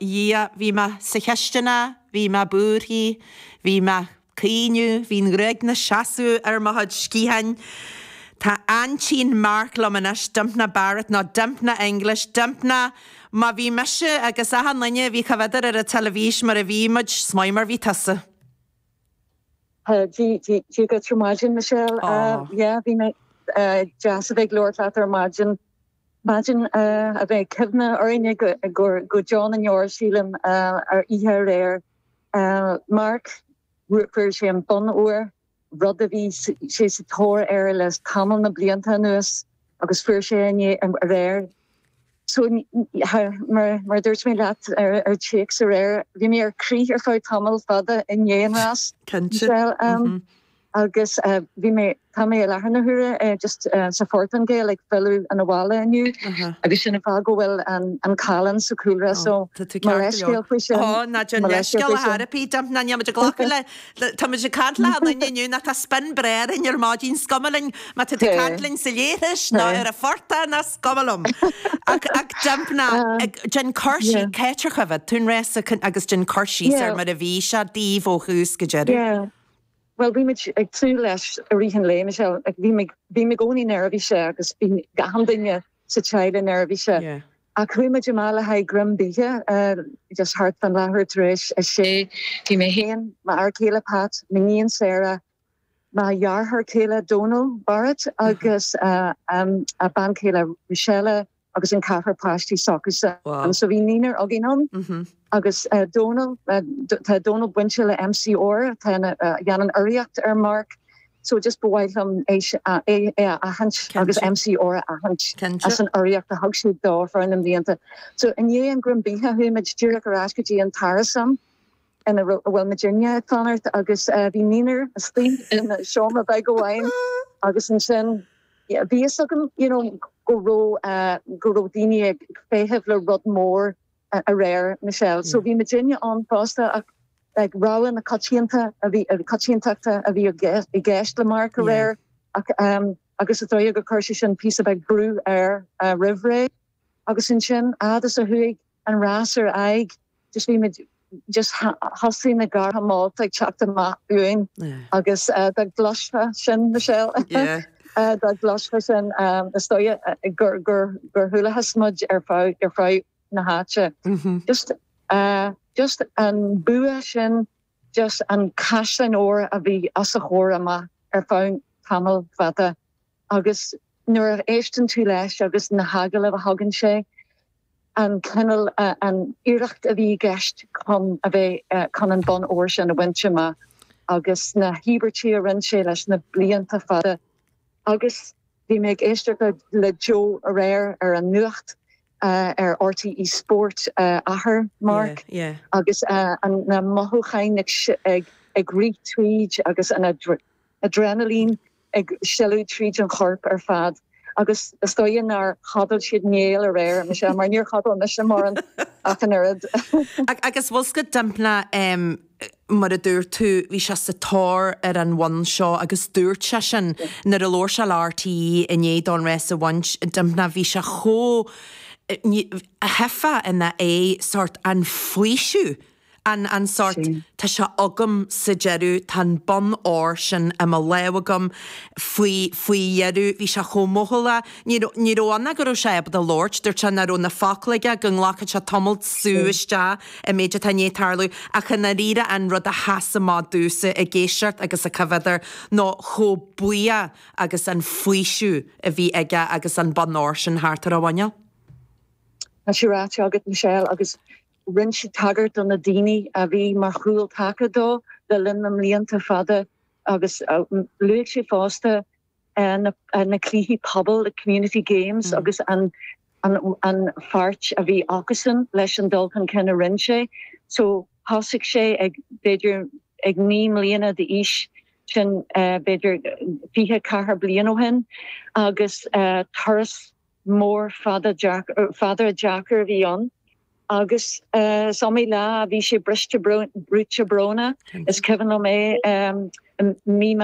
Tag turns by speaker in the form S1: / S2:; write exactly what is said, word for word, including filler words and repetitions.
S1: Dhia, bhí mé sa chisteanach, bhí mé buartha, bhí mé ag caoineadh, bhí an ghruaig 'na seasamh ar mo chuid sciatháin. Tá aintín Mark liom anois, Dympna Barrett nó Dympna English, Dympna, má bhí mise agus achan duine a bhí coimhéadar ar an teilifís mar a bhí muid, is maith mar bhí tusa.
S2: Dia duit ar maidin Michelle yeah bhí mé deas a bheith ag labhairt leat ar maidin. Maidin a bheidh cuimhne orainne go go deo na ndeor sílim ar oíche aréir. Mark fuair sé an bonn óir rud a bhí sé sa tóir air le tamall na blianta anuas agus fuair sé inné aréir. So mar mar dúirt mé leat ar ar téacs aréir, bhí mé ar crith ar feadh tamall fada i ndiaidh an rás.
S1: Cinnte.
S2: Um, agus bhí mé tá mé i láthair na huaire just sa Phortaingéil ag filleadh an abhaile inniu agus sin an fáth go bhfuil an an callán sa chúlra so leithscéal faoi sin.
S1: Ó ná déan leithscéal ar bith Dympna níl muid ag glacadh le tá muid ag caint le duine inniu nach tá spin breá orainn ar maidin is cuma linn má tá tú ag caint linn sa leithreas nó ar an phortach ná is cuma liom. Ach ach Dympna déan cur síos cá háit ar choimhéad tú an rása agus déan cur síos ar mar a bhí sé daoibh ó thús go deireadh.
S2: Yeah. Well bhí muid ag tnúth leis i rith an lae Michelle bhí bhí i gcónaí neirbhíseach agus bhí gach duine sa teaghlach neirbhíseach.
S1: Yeah.
S2: A chuaigh muid amach le haghaidh greim bídh uh, just thart fan leathuair tar éis a sé bhí mé féin m'fhear céile Pat, m'iníon Sarah, mo dheartháir céile Donal Barrett agus uh, um, a bean chéile Michelle agus an ceathrar páistí s'acusan.
S1: Wow.
S2: So bhí naonúr againn ann.
S1: Mm -hmm.
S2: agus uh, Donal uh, tá Donal bainte le MCR tá uh, dhéanann urraíocht ar Mark so just ba mhaith liom é é é a aithint agus MCR a aithint as an urraíocht a thug siad dó thar na blianta. So i ndiaidh an greim bídh chuaigh muid díreach ar ais go dtí an t-árasán ina bhfuil muidinne ag fanacht agus uh, bhí naonúr istigh in seomra beag amháin agus ansin bhí fhios agam you know, go raibh uh, go raibh daoine ag feitheamh le rud mór uh, aréir Michelle. So bhí muidinne ann fosta ach like, rogha na coitianta a bhí coitiantachta a bhí i gceist le Mark aréir ach um, agus is dóigh gur chuir sé sin píosa beag brú air uh, roimh ré agus ansin agus a chuaigh an rás ar aghaidh just bhí muid just thosaigh na gártha molta ag teacht amach uainn agus uh, dá gcloisfeá sin Michelle.
S1: Yeah.
S2: Uh, dá gcloisfeá sin um, is dóigh uh, gur gur gur chualathas muid ar feadh ar feadh na háite.
S1: Mm -hmm.
S2: Just uh, just an bua sin just an caisleán óir a bhí os a chomhair amach ar feadh tamall fada agus nuair a éisteann tú leis agus na hagallaimh a thugann sé an cineál uh, an iarracht a bhí i gceist chun a bheith uh, chun an bonn óir sin a bhaint amach agus na híobairtí a rinne sé leis na blianta fada agus bhí mé ag éisteacht le Joe aréir ar an nuacht uh, ar RTE Sport uh, athair Mark
S1: Yeah, yeah.
S2: agus uh, an na mothúcháin ag, ag, ag rith tríd agus an adre adrenaline ag sileadh tríd an chorp ar fad. agus is dóigh nár chodail siad néal aréir Michelle mar níor chodail mise mar an ach an oiread.
S1: Agus bhfuil go Dympna um, mar a dúirt tú bhí sé sa tóir ar an bhonn seo agus dúirt sé sin nuair a labhair sé le RTÉ i ndiaidh don rás a bhaint Dympna bhí sé chomh hefa ina é sort an faoiseamh an an sort tá sé agam sa deireadh tá an bonn óir sin i mo lámh agam faoi faoi dheireadh bhí sé chomh mothúla ní ní raibh ann go raibh sé ábalta labhairt dúirt sé nach raibh na focla aige go nglacfadh sé tamall sú isteach an méid atá i ndiaidh tarlú ach i ndáiríre an rud a sheas amach domhsa ag éisteacht agus ag coimhéadar nó chomh buíoch agus an faoiseamh a bhí aige agus an bonn óir sin thart ar a mhuineál.
S2: Tá sé ráite agat Michelle agus rinne sé tagairt do na daoine a bhí mar chúltaca dó le linn na mblianta fada agus uh, luaigh sé fosta uh, na, uh, na cluichí pobail the community games mm. agus an an, an pháirt a bhí acusan leis an dul chun cinn a rinne sé. So thosaigh sé ag b'fhéidir ag naoi mbliana d'aois sin uh, b'fhéidir fiche ceathair bliain ó shin agus uh, turas mór fada fada deacair a bhí ann. agus uh, so mé lá bhí sé briste brúite brónach is cuimhin liom é um, mí